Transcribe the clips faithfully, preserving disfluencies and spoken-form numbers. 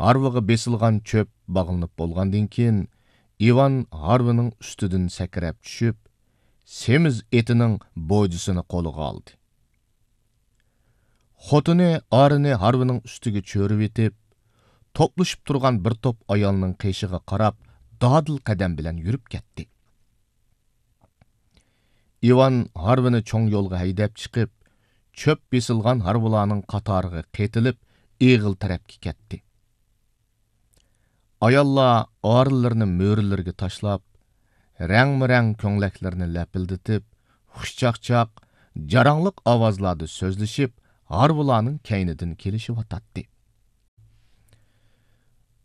ھارۋىغا بېسىلغان چۆپ باغلىنىپ بولغاندىن كېيىن، ئىۋان ھارۋىنىڭ ئۈستىدىن سەكرەپ چۈشۈپ، سېمىز ئېتىنىڭ بوجىسىنى قولىغا ئالدى. خوتۇنى ئارىنى ھارۋىنىڭ ئۈستىگە چۆرۈۋېتىپ، توپلىشىپ تۇرغان بىر توپ ئايالنىڭ قېشىغا قاراپ دادىل قەدەم بىلەن يۈرۈپ كەتتى. ئىۋان ھارۋىنى چوڭ يولغا ھەيدەپ چىقىپ، چۆپ بېسىلغان ھارۋىلارنىڭ قاتارىغا قېتىلىپ، ئېغىل تەرەپكە كەتتى. ئاياللار ئارىلىرىنى مۈرىلىرىگە تاشلاپ، رەڭمۇرەڭ كۆڭلەكلىرىنى لەپىلدىتىپ، خۇشچاقچاق، جاراڭلىق ئاۋازلاردا سۆزلىشىپ، ھارۋىلارنىڭ كەينىدىن كېلىشىۋاتاتتى.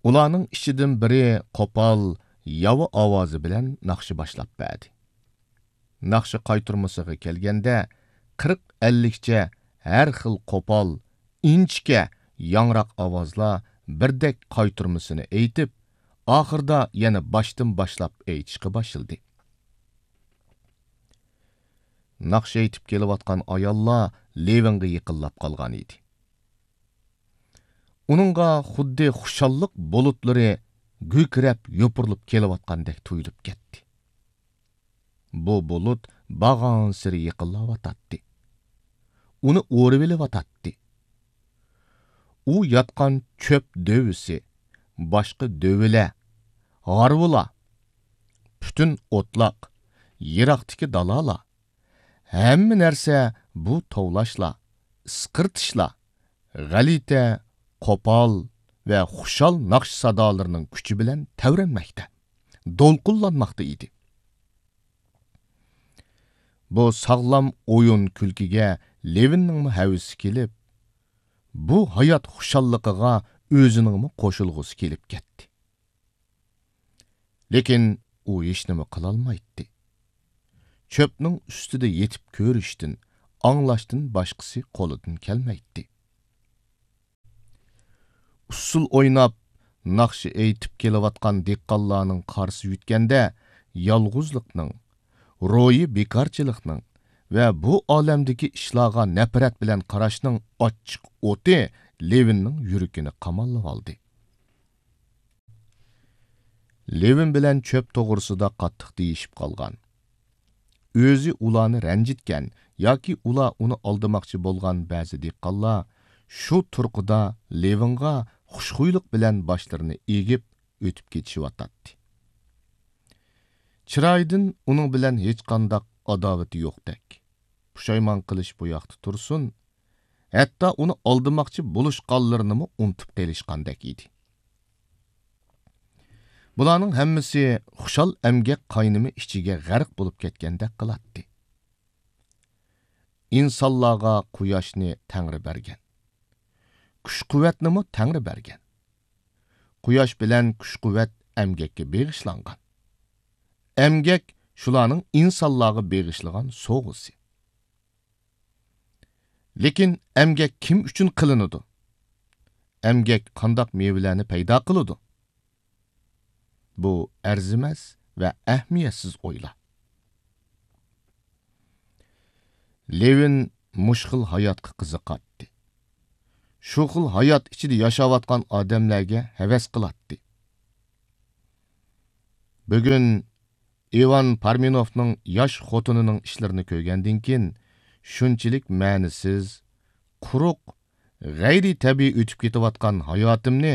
ئۇلارنىڭ ئىچىدىن بىرى قوپال، ياۋا ئاۋازى بىلەن ناخشا باشلاپ بەردى. ناخشا قايتۇرمىسىغا كەلگەندە، قىرىق-ئەللىكچە ھەر خىل قوپال، ئىنچىكە، ياڭراق ئاۋازلار بىردەك قايتۇرمىسىنى ئېيتىپ، ئاخىرىدا يەنە باشتىن باشلاپ ئېيتىشقا باشلىدى. ناخشا ئېيتىپ كېلىۋاتقان ئاياللار لېۋىنغا يېقىنلاپ قالغان ئىدى. ئۇنىڭغا خۇددى خۇشاللىق بۇلۇتلىرى گۈركىرەپ يوپۇرۇلۇپ كېلىۋاتقاندەك تۇيۇلۇپ كەتتى. بۇ بۇلۇت بارغانسېرى يېقىنلاۋاتاتتى. ئۇنى ئورىۋېلىۋاتاتتى. ئۇ ياتقان چۆپ دۆۋىسى، باشقا دۆۋىلەر، ھارۋىلار، پۈتۈن ئوتلاق، يىراقتىكى دالالار، ھەممە نەرسە بۇ توۋلاشلار، ئىسقىرتىشلار، غەلىتە، قوپال ۋە خۇشال ناخشا سادالىرىنىڭ كۈچى بىلەن تەۋرەنمەكتە، دولقۇنلانماقتا ئىدى. بۇ ساغلام ئويۇن-كۈلكىگە لېۋىننىڭمۇ ھەۋىسى كېلىپ، بۇ ھايات خۇشاللىقىغا ئۆزىنىڭمۇ قوشۇلغۇسى كېلىپ كەتتى. لېكىن ئۇ ھېچنېمە قىلالمايتتى. چۆپنىڭ ئۈستىدە يېتىپ كۆرۈشتىن، ئاڭلاشتىن باشقىسى قولىدىن كەلمەيتتى. ئۇسسۇل ئويناپ، ناخشا ئېيتىپ كېلىۋاتقان دېھقانلارنىڭ قارىسى يۆتكەندە، يالغۇزلۇقنىڭ، روھىي بىكارچىلىقنىڭ ۋە بۇ ئالەمدىكى ئىشلارغا نەپرەت بىلەن قاراشنىڭ ئاچچىق ئوتى لېۋىننىڭ يۈرىكىنى قاماللىۋالدى. لېۋىن بىلەن چۆپ توغرىسىدا قاتتىق دېيىشىپ قالغان، ئۆزى ئۇلارنى رەنجىتكەن ياكى ئۇلار ئۇنى ئالدىماقچى بولغان بەزى دېھقانلار شۇ تۇرقىدا لېۋىنغا خۇشخۇيلۇق بىلەن باشلىرىنى ئېگىپ ئۆتۈپ كېتىشىۋاتاتتى. چىرايىدىن ئۇنىڭ بىلەن ھېچقانداق ئاداۋىتى يوقتەك. پۇشايمان قىلىش بۇ ياقتا تۇرسۇن، ھەتتا ئۇنى ئالدىماقچى بولۇشقانلىرىنىمۇ ئۇنتۇپ قېلىشقاندەك ئىدى. بۇلارنىڭ ھەممىسى خۇشال ئەمگەك قاينىمى ئىچىگە غەرق بولۇپ كەتكەندەك قىلاتتى. ئىنسانلارغا قۇياشنى تەڭرى بەرگەن. كۈچ-قۇۋۋەتنىمۇ تەڭرى بەرگەن. قۇياش بىلەن كۈچ-قۇۋۋەت ئەمگەككە بېغىشلانغان. ئەمگەك شۇلارنىڭ ئىنسانلارغا بېغىشلىغان سوۋغىسى. لېكىن ئەمگەك كىم ئۈچۈن قىلىنىدۇ؟ ئەمگەك قانداق مېۋىلەرنى پەيدا قىلىدۇ؟ بۇ ئەرزىمەس ۋە ئەھمىيەتسىز ئويلار. لېۋىن مۇشۇ خىل ھاياتقا قىزىقاتتى. شۇ خىل ھايات ئىچىدە ياشاۋاتقان ئادەملەرگە ھەۋەس قىلاتتى. بۈگۈن ئىۋان پارمېنوفنىڭ ياش خوتۇنىنىڭ ئىشلىرىنى كۆرگەندىن كېيىن، شۇنچىلىك مەنىسىز، قۇرۇق، غەيرىي تەبىئىي ئۆتۈپ كېتىۋاتقان ھاياتىمنى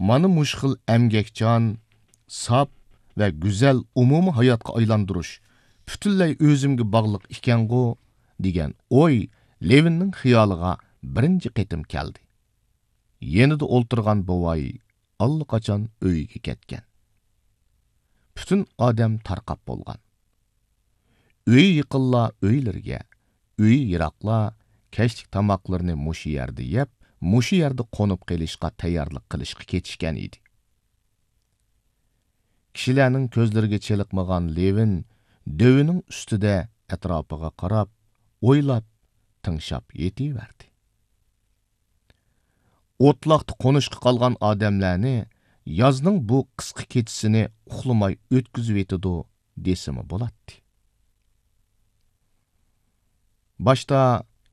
مانا مۇشۇ خىل ئەمگەكچان، ساپ ۋە گۈزەل ئومۇمىي ھاياتقا ئايلاندۇرۇش پۈتۈنلەي ئۆزۈمگە باغلىق ئىكەنغۇ، دېگەن ئوي لېۋىننىڭ خىيالىغا بىرىنچى قېتىم كەلدى. يېنىدا ئولتۇرغان بوۋاي ئاللىقاچان ئۆيىگە كەتكەن. پۈتۈن ئادەم تارقاپ بولغان. ئۆيى يېقىنلار ئۆيلىرىگە، ئۆيى يىراقلار كەچلىك تاماقلىرىنى مۇشۇ يەردە يەپ، مۇشۇ يەردە قونۇپ قېلىشقا تەييارلىق قىلىشقا كېتىشكەن ئىدى. كىشىلەرنىڭ كۆزلىرىگە چېلىقمىغان لېۋىن دۆۋىنىڭ ئۈستىدە ئەتراپىغا قاراپ، ئويلاپ، تىڭشاپ يېتىۋەردى. ئوتلاقتا قونۇشقا قالغان ئادەملەرنى يازنىڭ بۇ قىسقا كېچىسىنى ئۇخلىماي ئۆتكۈزۈۋېتىدۇ دېسىمۇ بولاتتى. باشتا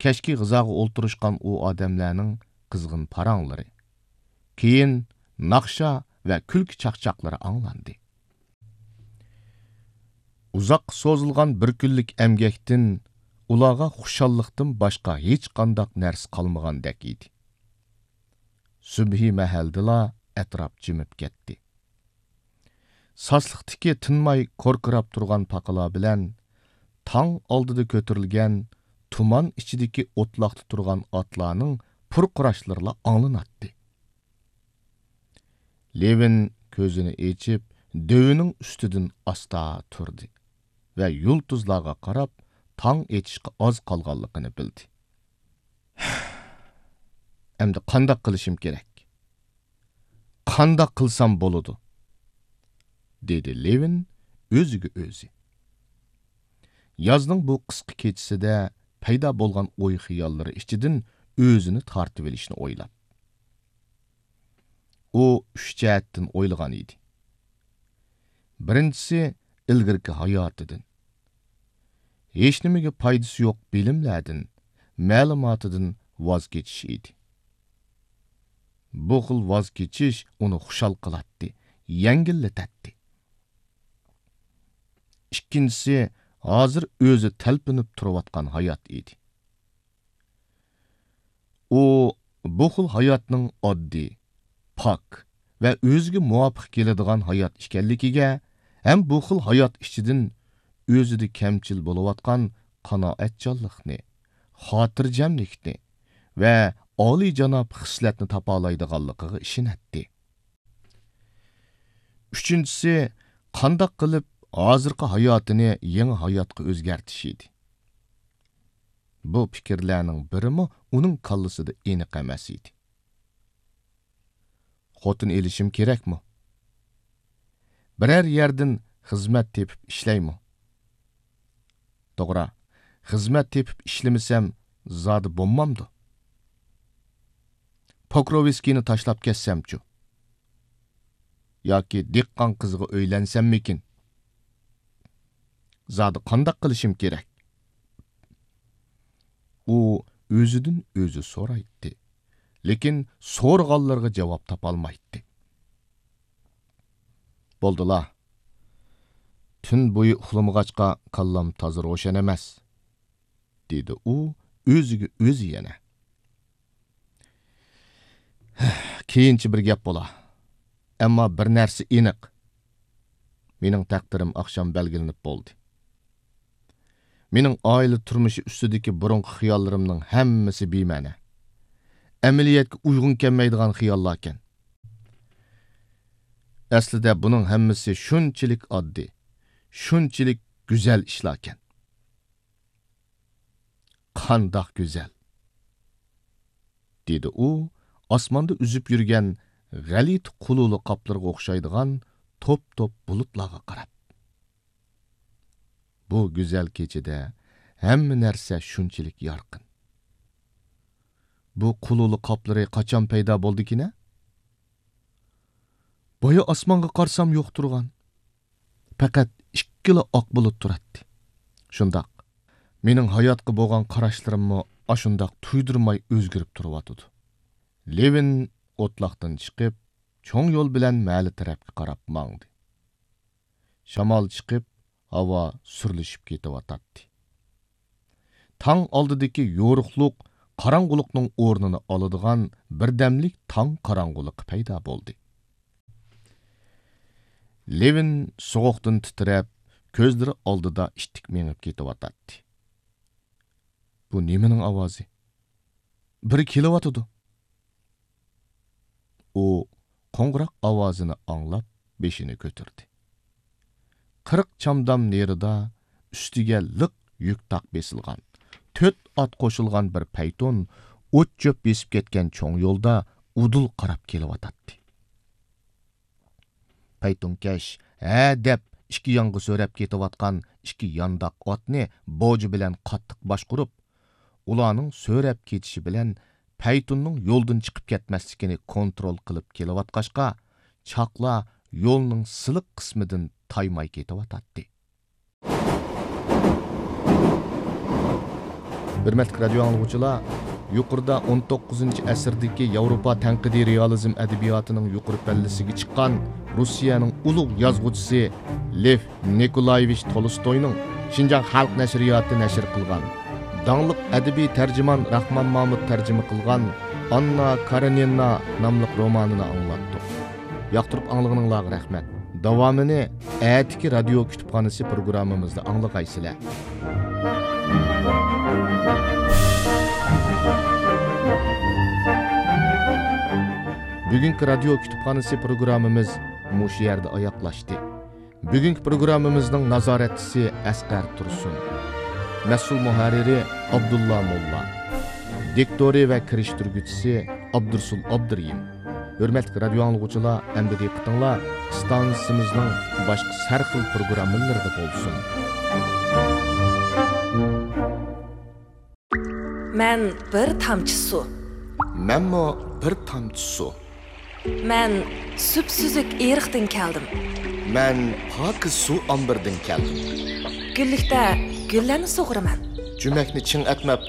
كەچكى غىزاغا ئولتۇرۇشقان ئۇ ئادەملەرنىڭ قىزغىن پاراڭلىرى، كېيىن ناخشا ۋە كۈلكە چاقچاقلىرى ئاڭلاندى. ئۇزاققا سوزۇلغان بىر كۈنلۈك ئەمگەكتىن ئۇلارغا خۇشاللىقتىن باشقا ھېچقانداق نەرسە قالمىغاندەك ئىدى. سۈبھى مەھەلدىلا ئەتراپ جىمىپ كەتتى. ساسلىقتىكى تىنماي كوركىراپ تۇرغان پاقىلار بىلەن تاڭ ئالدىدا كۆتۈرۈلگەن تۇمان ئىچىدىكى ئوتلاقتا تۇرغان ئاتلارنىڭ پۇرقۇراشلىرىلا ئاڭلىناتتى. لېۋىن كۆزىنى ئېچىپ، دۆۋىنىڭ ئۈستىدىن ئاستا تۇردى ۋە يۇلتۇزلارغا قاراپ، تاڭ ئېتىشقا ئاز قالغانلىقىنى بىلدى. ئەمدى قانداق قىلىشىم كېرەك؟ قانداق قىلسام بولىدۇ؟ دېدى لېۋىن ئۆزىگە ئۆزى. يازنىڭ بۇ قىسقا كېچىسىدە پەيدا بولغان ئوي-خىياللىرى ئىچىدىن ئۆزىنى تارتىۋېلىشنى ئويلاپ. ئۇ ئۈچ جەھەتتىن ئويلىغان ئىدى. بىرىنچىسى، ئىلگىرىكى ھاياتىدىن، ھېچنېمىگە پايدىسى يوق بىلىملەردىن، مەلۇماتىدىن ۋاز كېچىش ئىدى. بۇ خىل ۋاز كېچىش ئۇنى خۇشال قىلاتتى، يەڭگىللىتەتتى. ئىككىنچىسى، ھازىر ئۆزى تەلپۈنۈپ تۇرۇۋاتقان ھايات ئىدى. ئۇ بۇ خىل ھاياتنىڭ ئاددىي، پاك ۋە ئۆزىگە مۇۋاپىق كېلىدىغان ھايات ئىكەنلىكىگە ھەم بۇ خىل ھايات ئىچىدىن ئۆزىدە كەمچىل بولۇۋاتقان قانائەتچانلىقنى، خاتىرجەملىكنى ۋە ئالىيجاناب خىسلەتنى تاپالايدىغانلىقىغا ئىشىنەتتى. ئۈچىنچىسى، قانداق قىلىپ ھازىرقى ھاياتىنى يېڭى ھاياتقا ئۆزگەرتىش ئىدى. بۇ پىكىرلەرنىڭ بىرىمۇ ئۇنىڭ كاللىسىدا ئېنىق ئەمەس ئىدى. خوتۇن ئېلىشىم كېرەكمۇ؟ بىرەر يەردىن خىزمەت تېپىپ ئىشلەيمۇ؟ توغرا، خىزمەت تېپىپ ئىشلىمىسەم، زادى بولمامدۇ؟ پوكروۋسكىينى تاشلاپ كەتسەمچۇ؟ ياكى دېھقان قىزىغا ئۆيلەنسەممىكىن؟ زادى قانداق قىلىشىم كېرەك؟ ئۇ ئۆزىدىن ئۆزى سورايتتى، لېكىن سورىغانلىرىغا جاۋاب تاپالمايتتى. بولدىلا، تۈن بويى ئۇخلىمىغاچقا كاللام تازا روشەن ئەمەس، دېدى ئۇ ئۆزىگە ئۆزى يەنە. كېيىنچە بىر گەپ بولا. ئەمما بىر نەرسە ئېنىق. مېنىڭ تەقدىرىم ئاخشام بەلگىلىنىپ بولدى. مېنىڭ ئائىلە تۇرمۇشى ئۈستىدىكى بۇرۇنقى خىياللىرىمنىڭ ھەممىسى بىمەنە. ئەمەلىيەتكە ئۇيغۇن كەلمەيدىغان خىياللاركەن. ئەسلىدە بۇنىڭ ھەممىسى شۇنچىلىك ئاددىي، شۇنچىلىك گۈزەل ئىشلاركەن. قانداق گۈزەل! دېدى ئۇ ئاسماندا ئۈزۈپ يۈرگەن غەلىتە قۇلۇلە قاپلىرىغا ئوخشايدىغان توپ-توپ بۇلۇتلارغا قاراپ. بۇ گۈزەل كېچىدە ھەممە نەرسە شۇنچىلىك يارقىن. بۇ قۇلۇلە قاپلىرى قاچان پەيدا بولدىكىنە؟ بايا ئاسمانغا قارىسام يوق تۇرغان. پەقەت ئىككىلا ئاق بۇلۇت تۇراتتى. شۇنداق. مېنىڭ ھاياتقا بولغان قاراشلىرىممۇ ئاشۇنداق تۇيدۇرماي ئۆزگىرىپ تۇرۇۋاتىدۇ. لېۋىن ئوتلاقتىن چىقىپ، چوڭ يول بىلەن مەھەللە تەرەپكە قاراپ ماڭدى. شامال چىقىپ، ھاۋا سۈرلىشىپ كېتىۋاتاتتى. تاڭ ئالدىدىكى يورۇقلۇق قاراڭغۇلۇقنىڭ ئورنىنى ئالىدىغان بىردەملىك تاڭ قاراڭغۇلۇقى پەيدا بولدى. لېۋىن سوغۇقتىن تىترەپ، كۆزلىرى ئالدىدا ئىتتىك مېڭىپ كېتىۋاتاتتى. بۇ نېمىنىڭ ئاۋازى؟ بىرى كېلىۋاتىدۇ. ئۇ قوڭغۇراق ئاۋازىنى ئاڭلاپ، بېشىنى كۆتۈردى. قىرىق چامدام نېرىدا ئۈستىگە لىق يۈك تاق بېسىلغان، تۆت ئات قوشۇلغان بىر پەيتون ئوت-چۆپ بېسىپ كەتكەن چوڭ يولدا ئۇدۇل قاراپ كېلىۋاتاتتى. پەيتۇنكەش ھە دەپ ئىككى يانغا سۆرەپ كېتىۋاتقان ئىككى يانداق ئاتنى بوجا بىلەن قاتتىق باشقۇرۇپ، ئۇلارنىڭ سۆرەپ كېتىشى بىلەن پەيتۇننىڭ يولدىن چىقىپ كەتمەسلىكىنى كونترول قىلىپ كېلىۋاتقاچقا، چاقلا يولنىڭ سىلىق قىسمىدىن تايماي كېتىۋاتاتتى. ھۆرمەتلىك رادىيو ئاڭلىغۇچىلار، يۇقىرىدا ئون توققۇزىنچى ئەسىردىكى ياۋروپا تەنقىدىي رېئالىزم ئەدەبىياتىنىڭ يۇقىرى پەللىسىگە چىققان روسىيەنىڭ ئۇلۇغ يازغۇچىسى لېف نىكولايېۋىچ تولستوينىڭ شىنجاڭ خەلق نەشرىياتى نەشر قىلغان، داڭلىق ئەدەبىي تەرجىمان راخمان مامۇت تەرجىمە قىلغان ئاننا كارېنىنا ناملىق رومانىنى ئاڭلاتتۇق. ياقتۇرۇپ ئاڭلىغىنىڭلارغا رەھمەت. داۋامىنى ئەتىكى رادىيو كۇتۇپخانىسى پروگراممىمىزدا ئاڭلىغايسىلەر. بۈگۈنكى رادىيو كۇتۇپخانىسى پروگراممىمىز مۇشۇ يەردە ئاياغلاشتى. بۈگۈنكى پروگراممىمىزنىڭ نازارەتچىسى ئەسقەر تۇرسۇن. مەسئۇل مۇھەررىرى ئابدۇللا موللا. دىكتورى ۋە كىرىشتۈرگۈچىسى ئابدۇرسۇل ئابدۇرېھىم. ھۆرمەتلىك رادىيو ئاڭلىغۇچىلار، ئەمدى دىققىتىڭلار ئىستانسىمىزنىڭ باشقا سەرخىل پروگراممىلىرىدا بولسۇن. مەن بىر تامچە سۇ. مەنمۇ بىر تامچە سۇ. مەن سۈپسۈزۈك ئېرىقتىن كەلدىم. مەن پاكىز سۇ ئامبىرىدىن كەلدىم. گۈللۈكتە گۈللەرنى سۇغۇرىمەن. جۈمەكنى چىڭ ئەتمەپ